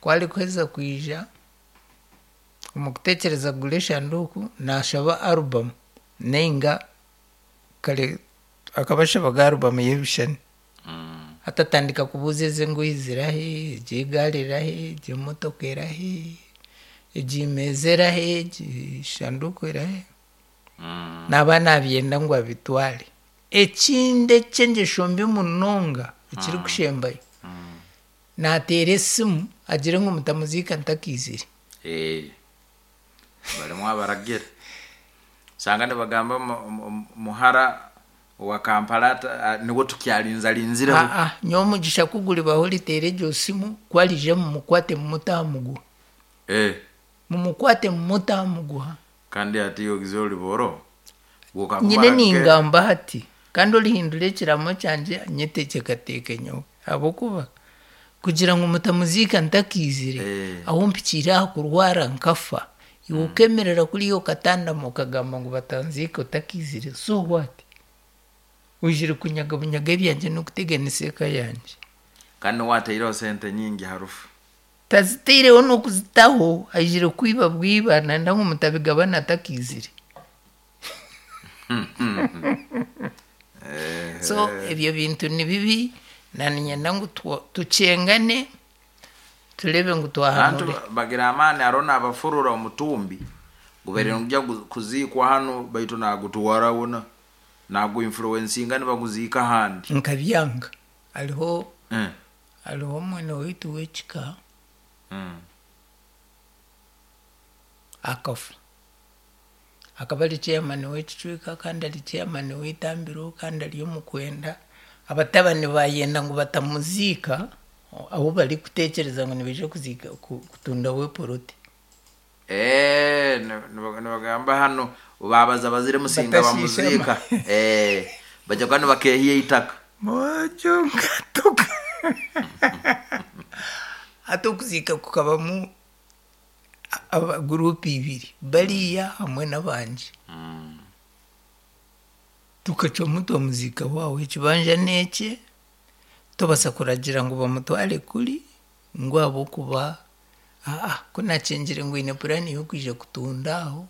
Ku arikuheza kwija, omu kuteekyereza kugura eshanduuku, naashaba arubamu nainga kare akaba ashabaga arubamu y'ebishushani. Hati atandika kubuuza ezi engoyi zirahi, egi egaari erahi, egi emotoka erahi, egi meeza erahi, egi shanduuku erahi. Naaba naabyenda ngu abitware. Ekindi eky'engyesho mbi munonga ekirikushembayo, naateera esimu agire ngu mutamuziika ntakaizire. Eh, barimu abaragira. Osanga nibagamba muhara owa Kampala niwe tukyarinzarinzireho. Aa, nyowe omugisha ku guribaho oriteera egyo simu, ku ariija mumukwate mumute aha muguha. Eh. Mumukwate mumute aha muguha. Kandi hati ogize ori boro, Nyine ningamba hati, kandi orihindura ekiraamo kyangye nyetekyekateeke nyowe, ahabw'okuba kugira ngu mutamuziika ntakaizire, ahu mpikiire aha kurwara nkafa, iwe okeemerera kuriya okatandama okagamba ngu batanziika otakaizire, so what? Oizire kunyaga bunyaga ebyangye n'okuteganisa eka yangye. Kandi niwe waataireho sente nyingi aha rufu. Tazitaireho n'okuzitaho, aijire kwiba bwiba nayenda ngu mutabigabana atakaizire. So ebyo bintu ni bibi naniinyenda ngu tukyengane tureebe ngu Abantu twahanura. bagira amaani hariho naabafurura omutumbi gubaire nigugya kuziikwa hanu baitu naagutwara hoona naagu influencinga nibaguziika ahandi. Nkabyanga hariho Hariho omwene waitu w'ekika akafa. Akaba ari chairman w'ekicweka kandi ari chairman w'eitambiro kandi ari omukwenda. Abatabani baayenda ngu batamuziika ahu barikuteekyereza ngu nibaija kuziika kutundaho epoloti. Eh, nibagamba hanu babaza bazire Musinga bamuziika. Eh, bajya kuba nibakehiya eitaka. Mwojo nkatuka. Hati okuziika kukabamu aba guruupu ibiri, bariya hamwe n'abangye. Tukacwamu twamuziika waawe ekibanja n'ekye, tobaasa kuragira ngu bamutware kuri ngu ahabw'okuba Aa, ku naakyengire ngu oine puraani y'okwija kutunda aho,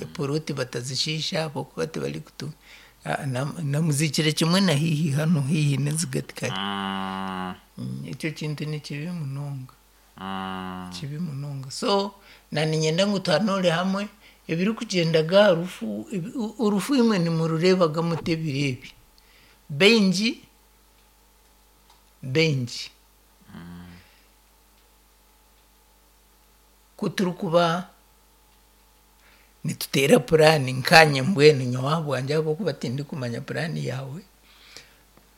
epoloti batazishiisha ahabw'okuba tibarikutunda. Namuziikire kimwe na haihi hanu haihi n'ezigati kare. Ekyo kintu ni kibi munonga, kibi munonga. So naaniinyenda ngu tuhanuure hamwe ebirikugyenda ga aha rufu, orufu imwe nimurureebaga muta ebiro ebi? Baingi, baingi. Ku turikuba nituteera puraani nkaanye mbwenu nyowe ahabwangye ahabw'okuba tindikumanya puraani yaawe,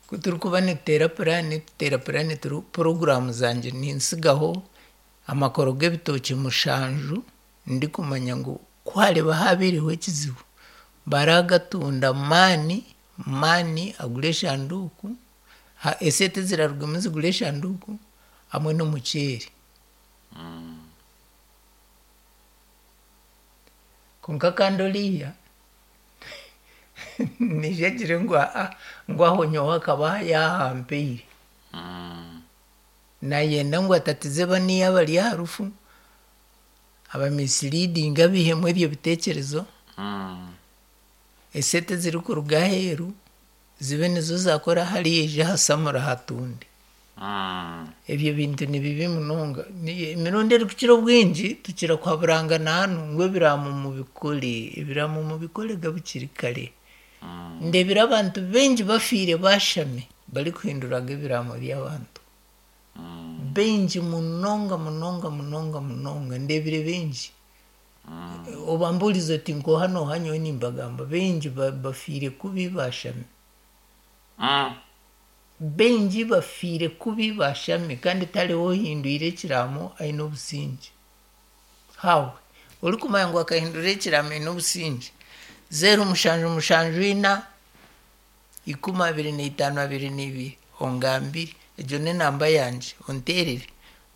ku turikuba nituteera puraani, tuteera puraani turi puroguraamu zangye nintsigaho amakoro g'ebitookye mushanju ndikumanya ngu ku hariba haabaireho ekizibu, baraagatunda maani, maani agure eshanduuku, esente eziraarugemu zigure eshanduuku hamwe n'omuceeri. Kwonka kandi oriya naija agire ngu aa ngu aho nyowe akaba yaahampaire. Naayenda ngu atatize baniya abari aha rufu, abamisiliidinge abaihemu ebyo biteekyerezo, esente ezirikuruga aheeru zibe nizo zaakora hariya aije ahasamure ahatunde. Ebyo bintu ni bibi munonga. Emirundi erikukira obwingi tukira kuhaburangana hanu ngu ebiraamo mubikore, ebiraamo mubikore ga bukiri kare. Ndeebire abantu baingi bafiire baashami barikuhinduraga ebiraamo by'abantu. Baingi munonga munonga munonga munonga ndeebire baingi. Obambuurize oti nk'oha n'oha nyowe nimbagamba baingi bafiire kubi baashami. Baingi bafiire kubi baashami kandi tihariho ohindwire ekiraamo aine obusingye. How? Orikumanya ngu akahindura ekiraamo aine obusingye. Zeero mushanju mushanju ina, ikumi abiri na itaano abiri na ibiri ongambire. Egyo n'enamba yangye onteerere.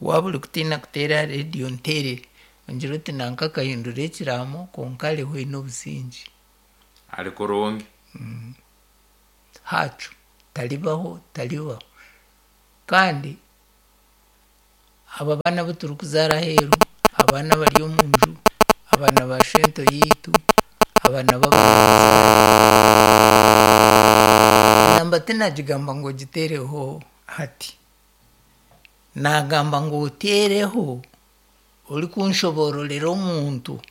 Waaba orikutiina kuteera aha reediyo onteerere ongire oti nanka akahindura ekiraamo kwonka ariho aine obusingye. Ari kurungi. Hacu taribaho taribaho. Kandi. Aba baana abu turikuzaara aheeru, abaana abari omu nju, abaana ba shento yaitu, abaana b'abanyabuzaare. Enamba tinagigamba ngu ogiteereho hati. Naagamba ngu oteereho orikunshoboororera omuntu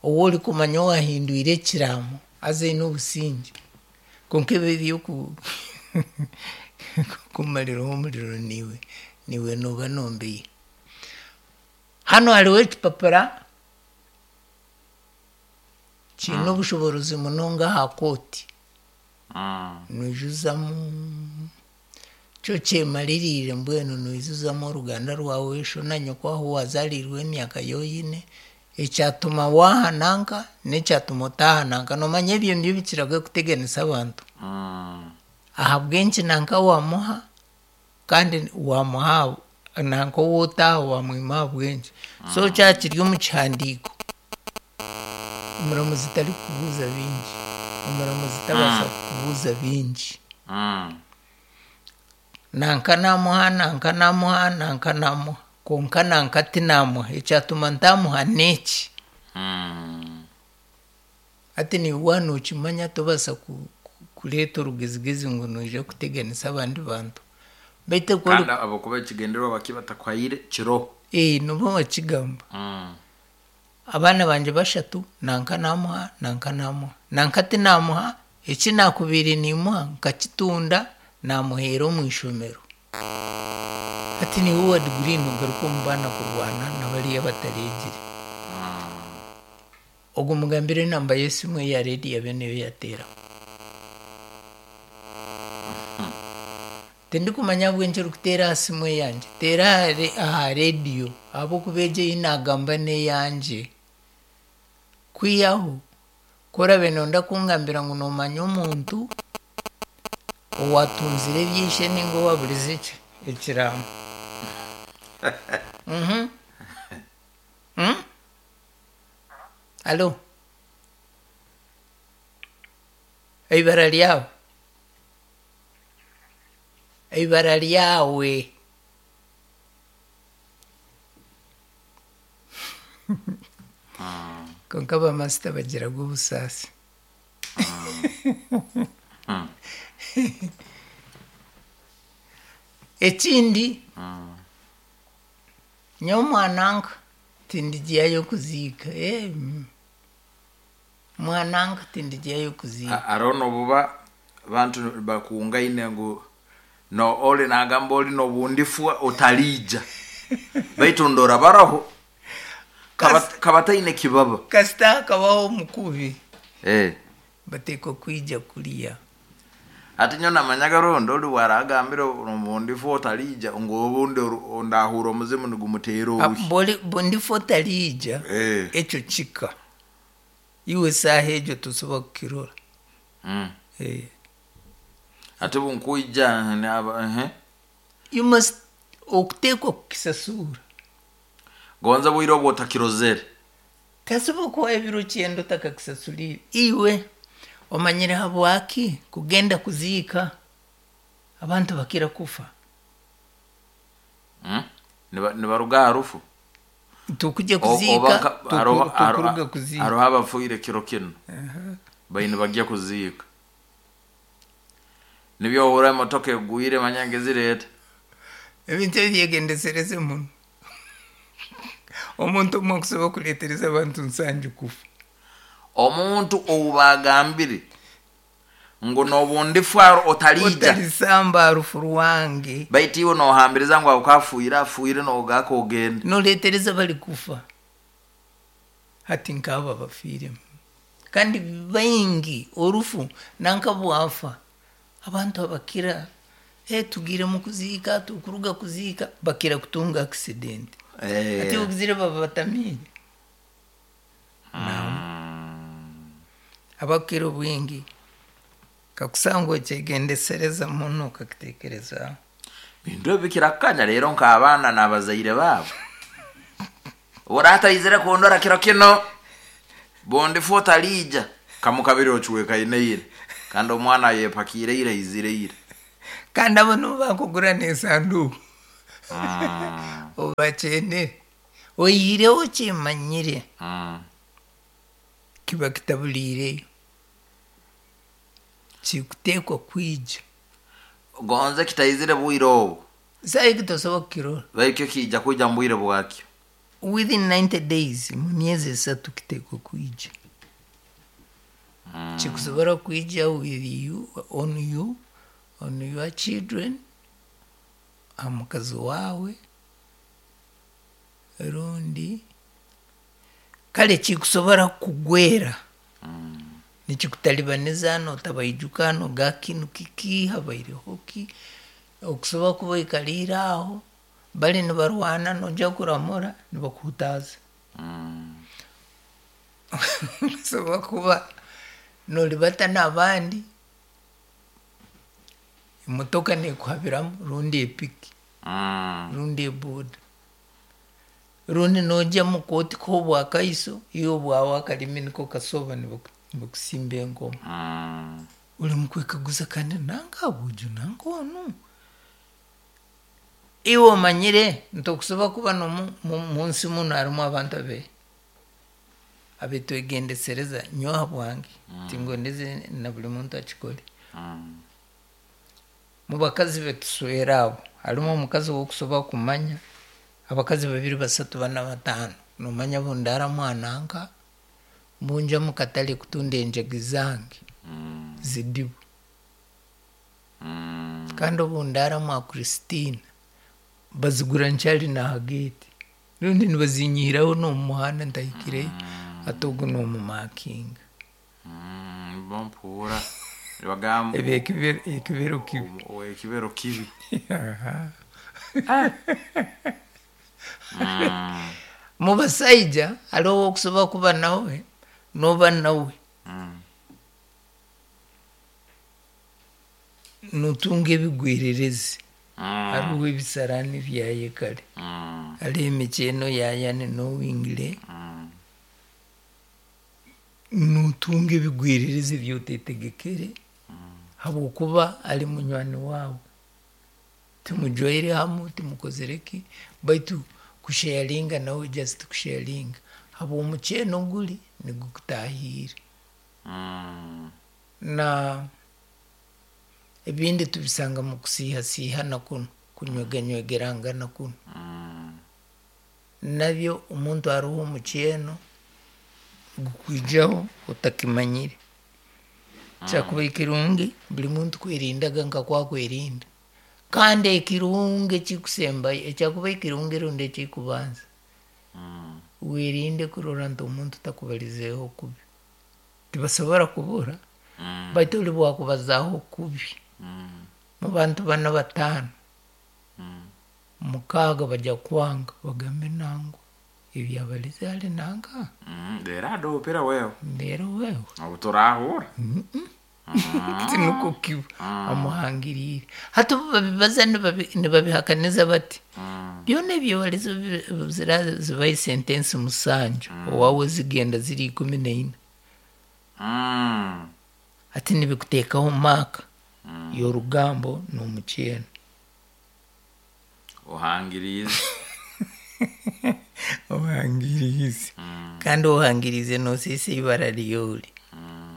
ou orikumanya owaahindwire ekiraamo haza aine obusingye. Kwonka ebi eby'okumariraho omuriro niiwe, niiwe nooba noombeiha. Hanu hariho ekipapura kiine obushoboorozi munonga aha kooti. Noijuzamu kyo kyemaririire mbwenu noijuzamu oruganda rwawe, sho na nyoko ahu waazaariirwe emyaka ei oine, ekyatuma waaha nanka n'ekyatuma otaaha nanka. Noomanya ebyo nibyo bikiraga kuteganisa abantu. Ahabw'enki nanka waamuha kandi waamuha nanka ou otaaha waamwima ahabw'enki. So kyaba kiri omu kihandiiko, omuramuzi tarikukubuuza bingi, omuramuzi tabaasa kukubuuza bingi. Nanka naamuha, nanka naamuha, nanka naamuha, kwonka nanka tinaamuha, ekyatuma ntaamuha n'eki. Hati naiwe waaba nookimanya tobaasa kureeta orugezigezi ngu noija kuteganisa abandi bantu. Beitu ku ori. Kandi ahabw'okuba ekigyendererwa bakiba batakuhaire kiroho. Ee, nooba wakigamba. Abaana bangye bashatu nanka naamuha, nanka naamuha, nanka tinaamuha, eki naakubaire niimuha nkakitunda naamuheera omu ishomero. Hati naiwe owa diguri noogaruka omu baana kurwana na bariya abatareegire. Ogwo mugambire enamba y'esimu eya reediyo abe niyo yaateeraho. Tindikumanya ahabw'enki orikuteera aha simu eyangye, teera aha reediyo ahabw'okuba egyo ei naagamba n'eyangye. Kwihaho ku oraabe nooyenda kungambira ngu noomanya omuntu owaatunzire eby'eishe nainga owaaburize ekiraamo. Halo? Eibara ryawe? Eibara ryawe? Kwonka bamasita bagiraga obusaasi. Ekindi, nyowe mwananka tindigyayo kuziika. Mwananka tindigyayo kuziika. Hariho n'obuba abantu bakungaine ngu no oli nagamba oli nobundifwa otaliija baitu ndora baraho kaba taine kibaba. Kasita hakabaho omukubi bateekwa kwija kuriya. Hati nyowe namanyaga rundi ori bwaragambire nobundifwa otaliija ngu obundi ndahurra omuzimu nigumuteera oruhi. Bundifwa otaliija ekyo kika iwe esaaha egyo tosobola kukirora. Hati obunkwija ehe. You must okuteekwa kukisasuura. Gonza obwire obu otakirozere. Tasobola kukuha ebiro kyenda otakakisasuliire. Iwe omanyire habwaki kugenda kuziika abantu bakira kufa? Nibaruga aha rufu? Tukujya kuziika, tukuruga kuziika. Hariho abafiire kiro kinu baine nibagya kuziika. Nibyo ohurra emotoka egwire manya ngezire eta. Ebintu ebi byegyendesereze muno. Omuntu omwe akusobola kureetereza abantu nsanju kufa. Omuntu ou baagambire ngu nobundifwa otaliija. Otalisamba aha rufu rwange. Baitu iwe nohambiriza ngu aho afiire afiire nogaaka ogende. Noreetereza abarikufa. Hati nk'abo abafiiremu. Kandi baingi orufu nanka bwafa abantu abakira tugiire omu kuziika tukuruga kuziika bakira kutunga accident. Hati ogizire baba batamiire. Abakukira obwingi kakusanga okyegendesereza muno okakiteekerezaho. Bintu ebi bikirakanya rero nk'abaana n'abazaire baabo. Orataizire kundora kiro kino, bundifwa otaliija. Kamukabiri ocwekaine ira kandi omwana ayepakiire ira aizire ira. Kandi abo nibo bakugura n'esanduuku. Obakyenere oihireho okimanyire kiba kitaburiireyo kikuteekwa kwija. Gonze kitaizire bwire obu. Saaha egi tosobola kukirora. Baikyo kiija kwija mu bwire bwakyo. Within 90 days, mu myezi esatu kiteekwa kwija. Kikusobora kwija with you, on you, on your children, aha mukazi waawe, rundi kare kikusobora kukugwera nikikutalibaniza notabaijuka noga kinu kiki habaireho ki okusobola kuba oikaliire aho bari nibarwana noija kuramura nibakuhutaaza. Okusobola kuba noribata n'abandi emotoka nekuhabiramu rundi epiki rundi eboda rundi nogya omu kooti kuha obwakaiso iwe obwawe akarimi niko kasoba nibakusimba enkomo. Ori mukwekaguza kandi nanka bwojo nanka onu. Iwe omanyire nti okusobola kuba munsi munu harimu abantu abe abetwegendesereza nyowe habwange tingondeze na buri muntu akikore. Mubakazi betuswera abo harimu omukazi ow'okusobola kumanya abakazi babiri basatu bana bataano nomanya bundaaramu aha nanka mbunjya omu katare kutunda enjagi zange zidibu. Kandi obundaaramu aha Christina bazigura nkyari n'aha geeti rundi nibazinyihiraho n'omu muhanda ntahikireyo hati ogu nomumakinga. Mpuura nibagamba Ebi ekibero kibi. Ekibero kibi. Mubasaija hariho ow'okusobola kuba nawe noba nawe notunga ebigwererezi. Hariho ebisaraani byaye kare hariho emikyeno yayane nowingire notunga ebigwererezi ebi otetegekere habwokuba ari munywani waawe. Timujwaire hamwe timukozire ki baitu kusharinga nawe just kusharinga habw'omukyeno guri nigukutahiire. Na ebindi tubisanga mu kusiihasiihana kunu kunyweganywegerangana kunu. Nabyo omuntu hariho omukyeno gukwijaho otakimanyire. Kyakubaire kirungi buri muntu kwerindaga nka akwerinda. Kandi ekirungi ekikusembayo ekyakubaire kirungi rundi ekikubanza werinde kurora nti omuntu takubarizeeho kubi. Tibasobora kubura baitu ori bwakubazaaho kubi mu bantu bana bataano mukaaga bajya kwanga bagambe nangwa ebi yabarize hali nanka. Reero adoopera wewe. Reero wewe. Obu turaahura. Tinukwo kiba amuhangiriire. Hati obu babibaza nibabihakaniza bati byona ebi wabarize zibaho sentensi musanju owaawe zigenda ziri 14. Hati nibikuteekaho maaka y'orugambo n'omukyeno. Ohangiriize. Ohangiriize. Kandi ohangiriize noosiisa eibara ryori.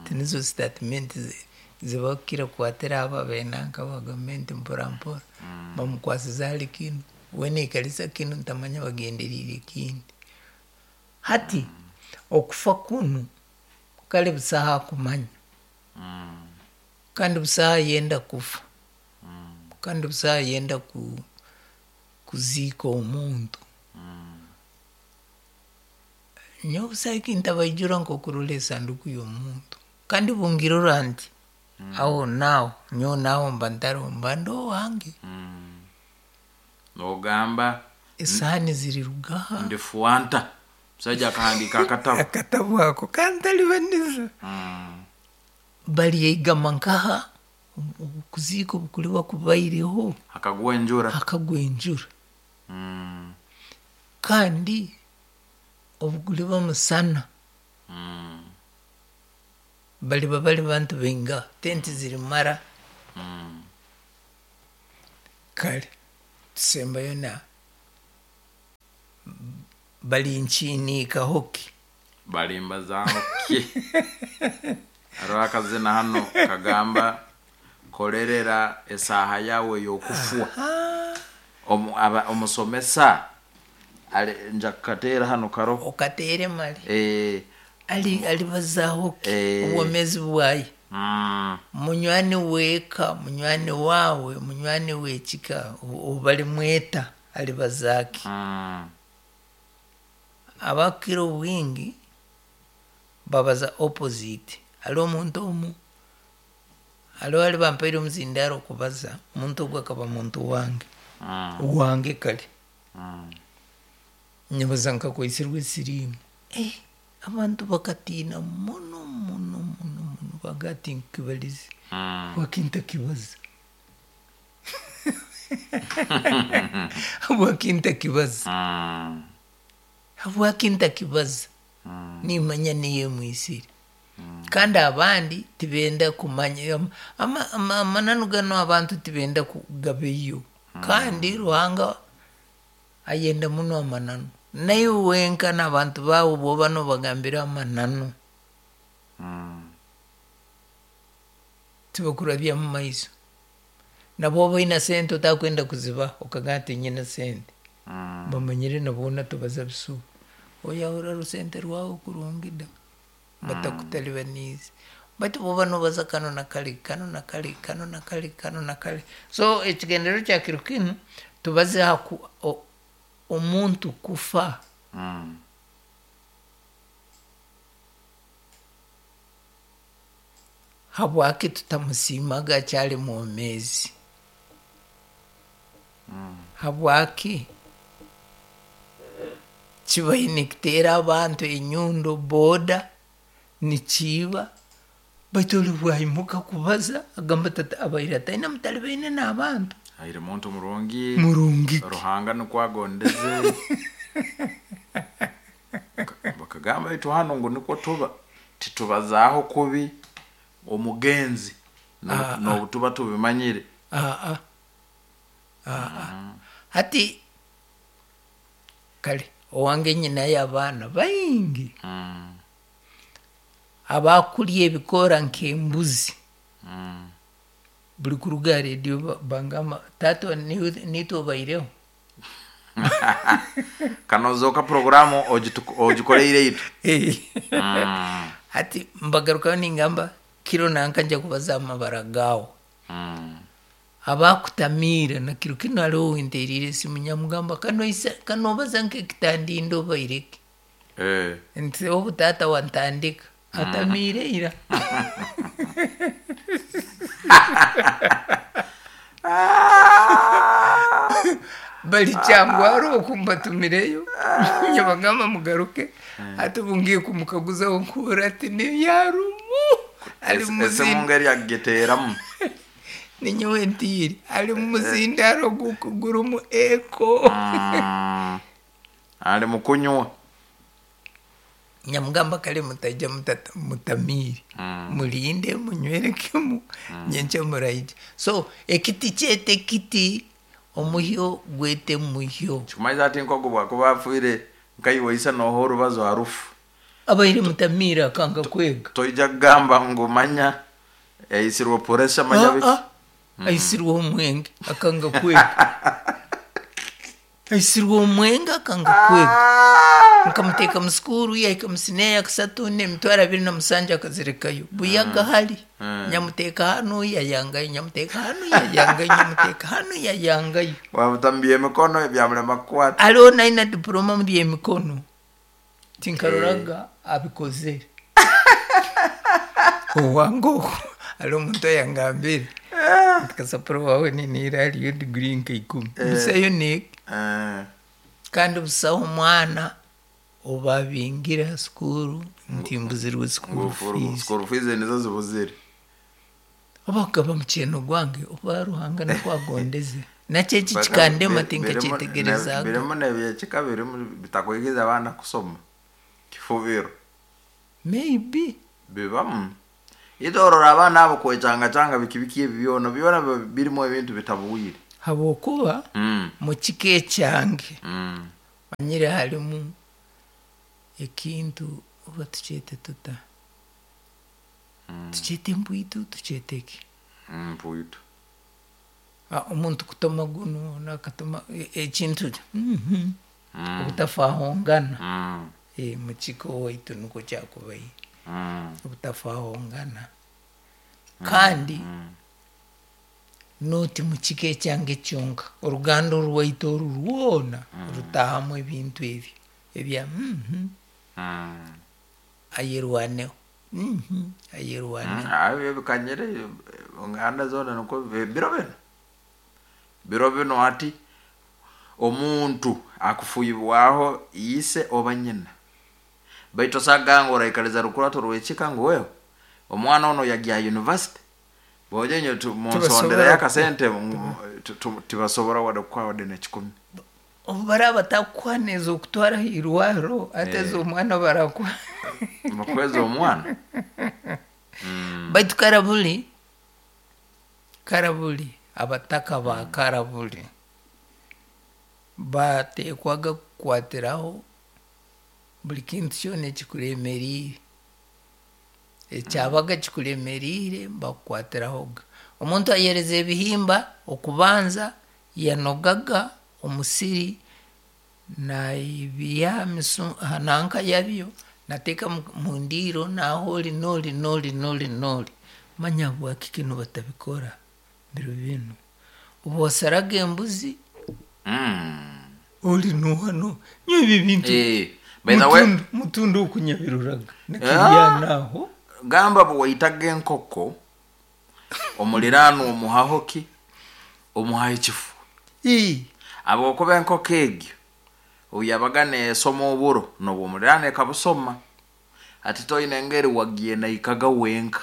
Tinizo sitatimenti zibakukira kukwatira abo abenanka aba gavumenti mpora mpora. Bamukwasize ahari kinu, we naikarisa kinu ntamanya bagenderiire ekindi. Hati okufa kunu kare busaho akumanya. Kandi busaho ayenda kufa. Kandi busaho ayenda kuziika omuntu. Nyowe busaho ekintabaijura nk'okurora esanduku y'omuntu. Kandi bungirora nti aho naaho nyowe naaho mba ntariho mba ndi owange. Nogamba Esaani zirirugaha. Ndi fuanta. Musaija akahandiika akatabo. Akatabo ako kantalibaniza. Baryaigama nkaha okuziika obukuriba kubaireho. Hakagwa enjura. Hakagwa enjura. Kandi obuguriba musana. Bariba bari bantu baingaha tenti zirimara. Kare. Tusembayo na balinkiiniikaho ki? Balimbazaho ki? Hariho akazina hano kagamba korerera esaaha yawe y'okufwa. Omusomesa nja kukateera hano karoho. Okateere mali. Alibazaho ki? Obwomeezi bwaye. Munywani w'eka, munywani waawe, munywani w'ekika, obu balimweta alibaza ki? Abakukira obwingi babaza opposite. Hariho omuntu omu, hariho hali bampaire omuzindaaro kubaza, omuntu ogu akaba muntu wange, wange kare. Nyebaza nkakwaisirwe siriimu. Abantu bakatiina muno muno muno muno baga ati nkibalize. Habwaki ntakibaza? Habwaki ntakibaza? Habwaki ntakibaza? Nimanya niyo emwisire. Kandi abandi tibenda kumanya amananu ganu, abantu tibenda kugabeyo. Kandi Ruhanga ayenda muno amananu. Naiwe wenka n'abantu baawe bwoba nobagambira amananu, tibakurabya mu maiso. Nabo oba oine sente otakwenda kuzibaha, okagamba ati nyine sente. Bamanyire nabo tobaza bisuba. Oyahura rusente rwawe kurungi da, batakutalibaniize. Baitu bwoba nobaza kanu na kali, kanu na kali, kanu na kali, kanu na kali. So ekigendererwa kya kiro kinu, tubaze ha omuntu kufa. Habwaki tutamusiimaga akyali mwomeezi? Habwaki kibaire nikiteera abantu enyundo, boda nikiiba, baitu oli bwaimuka kubaza agamba tata abaire ataine mutalibaine n'abantu. Aire muntu murungi. Murungi ki? Ruhanga nikwo agondeze. Bakagamba baitu hano ngu nikwo tuba titubazaaho kubi omugenzi n'obu tuba tubimanyire. Hati kare owange nyinayo abaana baingi abakurya ebikoora nk'embuzi. Buri kuruga aha rediyo bangamba, taata niitwe obaireho. Kanozoka poroguramu ogikoleire itwe. Hati mbagarukayo ningamba kiro nanka nja kubaza amabara gaawe. Abakutamiira na kiro kinu hariho owinteriire esimu nyamugamba kanobaza nk'ekitandinda obaireki. Nti obu taata wantandika atamiire ira. Bari kyangwara oku mbatumireyo, nyabagamba mugaruke. Hati obu ngiye kumukaguzaho nkuhurra ati nibyarumu ari Esimu mumuzinda. ngeri agiteeramu. Ninyowe ntiire ari mumuzindaaro gurimu eko. Ali mukunywa. Nyamugamba kare mutaija mutamiire. Murinde munywere kimu nyenkya muraija. So ekiti kyete ekiti, omuhyo gwete muhyo. Kikumanyisa ati nkogu bwakuba afiire nkaiwe ise nooha orubazo ha rufu. Abaire mutamiire akanga kwega. Toija kugamba ngu manya yaisirwe pressure manya biki. Aisirwe omwenge akanga kwega. Aisirwe omwenge akanga kwega. Nkamuteeka mu sukuru yahika mu siniya ya kasatu n'emitwaro 27 akazirekayo. Buyaga hali. Nyamuteeka hanu yayangayo, nyamuteeka hanu yayangayo, nyamuteeka hanu yayangayo. Wamutambia emikono byamurema kukwata. Hariho naina diploma mu by'emikono. Tinkaroraga abikozere. Owange ogu hariho omuntu ayangambire nti kasapuro wawe niniira hariyo diguri nka 10. Busayo neeki. Kandi busaho omwana obabingire ha sukuru nti mbuzirwe school fees. School fees nizo zibuzire. Oba mukyeno gwange oba Ruhanga nikwo agondeze. Nakyo eki kikandema tinkakyetegerezaaga. Birimu nebyekika birimu bitakwikiriza abaana kusoma. Kifubiro. Maybe. Bibamu. Itwe orora abaana abo kwecangacanga biki biki ebi byona, byona birimu ebintu bitabwire. Habwokuba mukika ekyange manyire harimu ekintu oba tukyete tuta? Tukyete mpwitu, tukyete ki? Mpwitu. Omuntu kutoma gunu, onu akatoma ekintu obutafahongana. Mukika owaitu nikwo kyakubaire. Obutafahongana. Kandi noti mukika ekyange kyonka, oruganda orwaitu oru rwona rutahamu ebintu ebi ebya ayerwaneho ayerwaneho. Ebyo bikanyire enganda zoona nikwo biro binu, biro binu hati omuntu akufuibwaho ise oba nyina, baitu osanga ngu oraikaliza rukurato rw'ekika ngu wewe omwana onu yagya university, bojo inywe munsondereyo akasente, tibasobora wadde kukuha wadde n'ekikumi. Obu baraba batakukuha n'ez'okutwara aha irwariro, hati ez'omwana barakuha? Bakuha ez'omwana? Baitu karaburi, karaburi, abataka ba karaburi bateekwaga kukwatiraho buri kintu kyona ekikuremereire. Ekyabaga kikuremereire bakukwatirahoga. Omuntu ayereza ebihimba, okubanza yanogaga omusiri nabiiha aha nanka yabyo nateeka mu ndiiro naha ori n'ori n'ori n'ori n'ori. Manya habwaki kinu batabikora biro binu. Obu wasaraga embuzi, ori n'oha n'oha. Nyowe ebi ebintu By the way, mutundu okunyabiroraga nikirya naho. Gamba bwe waitaga enkoko, omuliraanwa omuhaho ki? Omuhaho ekifu. Habwokuba enkoko egyo obu yabaga neesoma oburo, n'obwo omuliraanwa ekabusoma. Hati toine engeri wagyenaikaga wenka.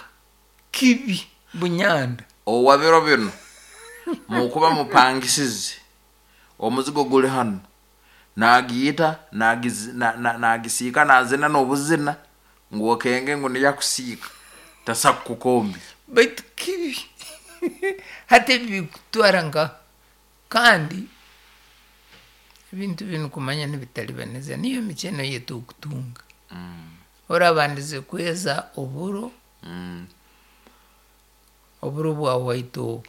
Kibi bunyanda. Owa biro binu, mukuba mupangisize, omuzigo guli hanu, nagiita, nagisiika, nazina n'obuzina, ngu okenge ngu niyo akusiika, tasa kukukombi. Baitu kibi. Hati ebi bikutwara nka kandi ebintu binu kumanya nibitaribaniza niyo emikyeno ei turikutunga. Orabandize kweza oburo, oburo bwa white obu,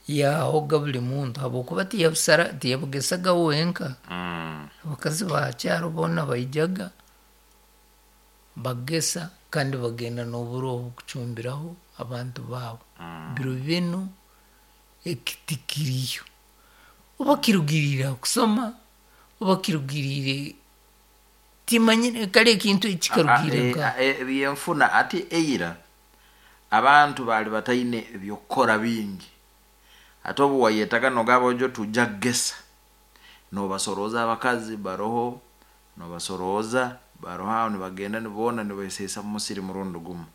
yahoga buri muntu habwokuba tiyabusara tiyabugesaga wenka. Abakazi ba kyaro boona baijaga bagesa kandi bagenda n'oburo obu kucumbiraho abantu baabo. Biro binu eki tikiriyo. Oba kirugiriire aha kusoma, oba kirugiriire timanyire kare ekintu eki kikarugiire nkaha. Ebyenfuna hati eira abantu baali bataine eby'okukora bingi. Hati obu wayetaga nogamba ojo tujja kugesa, nobasorooza abakazi baroho, nobasorooza baroho aho nibagenda niboona nibeseesa mu musiri murundi gumu.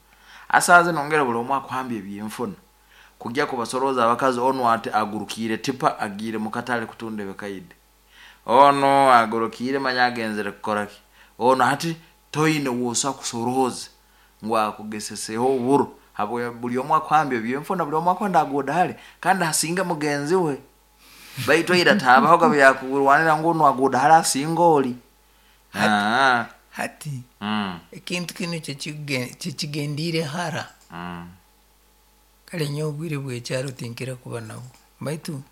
Hati zinu nongera buli omu akuhambya ebyenfuna, kugya kubasorooza abakazi onu ati agurukiire tipa agiire mu katale kutunda ebikaide, onu agurukiire manya agenzere kukora ki, onu hati toine w'osobola kusorooza ngu akugeseseho oburo habwe buli omu akuhambya ebyenfuna, buli omu akwenda aguude hare kandi asinge mugenzi we. Baitu ira tihabahoga byakurwanira ngu onu aguude hare asinge ori. Hati ekintu kinu kyekigendiire hara. Kare nyowe obwire bw'ekyaro tinkira kuba nabwo baitu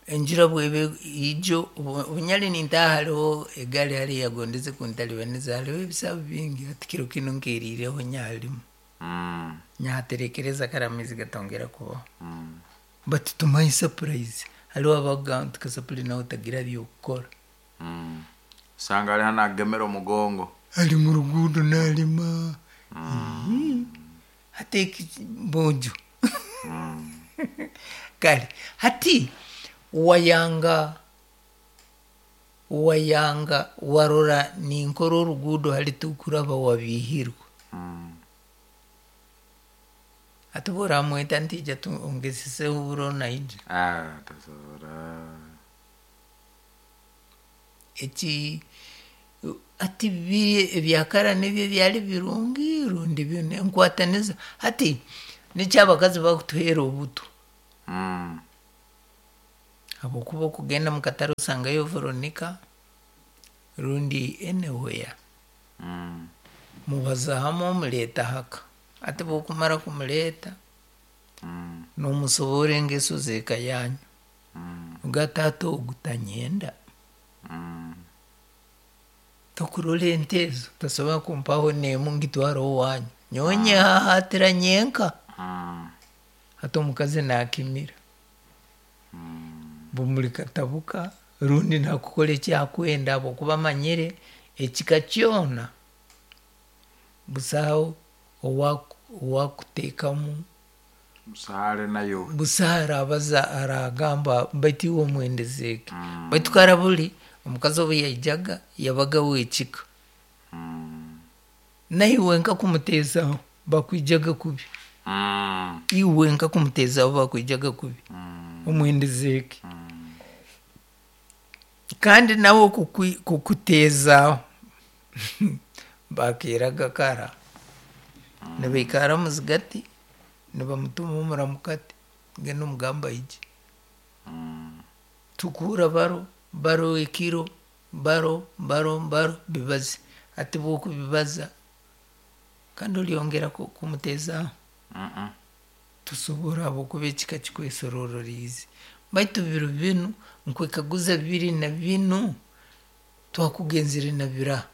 enjura bweba ijo, obunyari nintaaha hariho egaari hariya eyagondeze kuntaribaniza hariho ebisabu bingi hati kiro kinu nkeriireho nyaharimu. Nyahaterekereza kare amaizi gatongera kubaho. But to my surprise hariho abakugamba nti Kasapuli nawe tagira by'okukora. Osanga ari hanu agemere omugongo. Ari mu ruguudo narima. Hati eki bojo. Kare hati wayanga wayanga warora ninkora oruguudo hari tukuraba wabiihirwa. Hati obu oramweta nti ija ongeseseho oburo naija. Tasobora. Eki hati biri ebya kara nibyo byari birungi rundi binu enkwataniza. Hati nikyo abakazi bakutuheera obutwa. Habwokuba okugenda mu katare osangayo Veronica rundi anywhere, mubaza hamwe omuleeta haka. Hati bwokumara kumuleeta, nomusoborra engeso z'eka yanyu. Oga taata ogu tanyenda. Tokurora ente ezo, tosobora kumpaho n'emu ngitware owanyu. Nyowe nyehahaatira nyenka. Hati omukazi nakimira. Bumuri katabuka rundi nakukora eki akwenda habwokuba amanyire ekika kyona busaho owakuteekamu Busaare nayo. Busaho arabaza aragamba baitu iwe omwendezeeki. Baitu kara buli omukazi obu yaijaga yabaga w'ekika. Naiwe nka kumuteezaho bakwijaga kubi. Iwe nka kumuteezaho bakwijaga kubi. Omwendezeeki. Kandi nawe kukuteezaaho bakeeraga kara nibaikara muzigati nibamutuma omuramukati, genda omugambe aije. Tukuhurra baro, baro ekiro, baro, baro, baro, bibaze. Hati bwokubibaza, kandi olyongera kumuteezaaho? Tosobora habwokuba ekika kikwesororeriize. Baitu biro binu, nkwekaguza biri na binu, twakugenzere na biraha?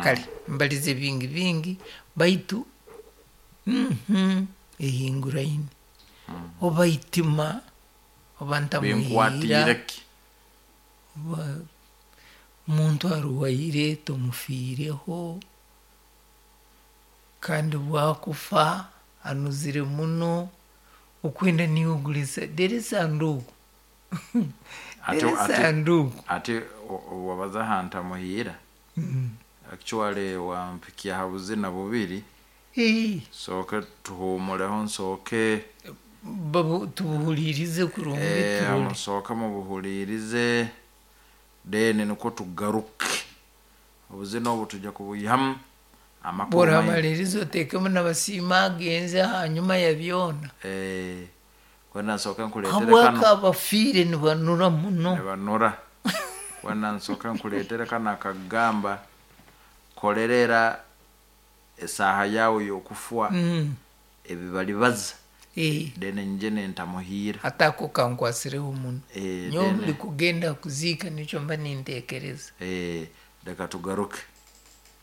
Kale mbalize bingi bingi, baitu ehinguraine. Oba itima, oba ntamuhiira, Binkwatiire ki? Oba omuntu arwaire tomufiireho, kandi bwakufa anuzire muno, okwenda niiwe ogura dera esanduuku. Dera esanduuku. Ati wabaza ha ntamuhiira, actually wampikya ha buzina bubiri. Nsooke tuhumureho, nsooke Tubuhuliirize kurungi turole. Musooke mubuhuliirize, then nikwo tugaruke. Obuzina obu tujja kubuihamu amakuru maingi. Bworamaliriza oteekemu na Basiima agenze hanyuma ya byona. Kwenda nsooke nkuleetere Habwaki kano. abafiire nibanura muno? Nibanura. Kwenda nsooke nkuleetere kano akagamba, kolerera esaaha yaawe y'okufwa, ebi balibaza, then nyije nentamuhiira. Hati ako kankwasireho muno. Nyowe buli kugenda kuziika nikyo mba ninteekereza. Leka tugaruke.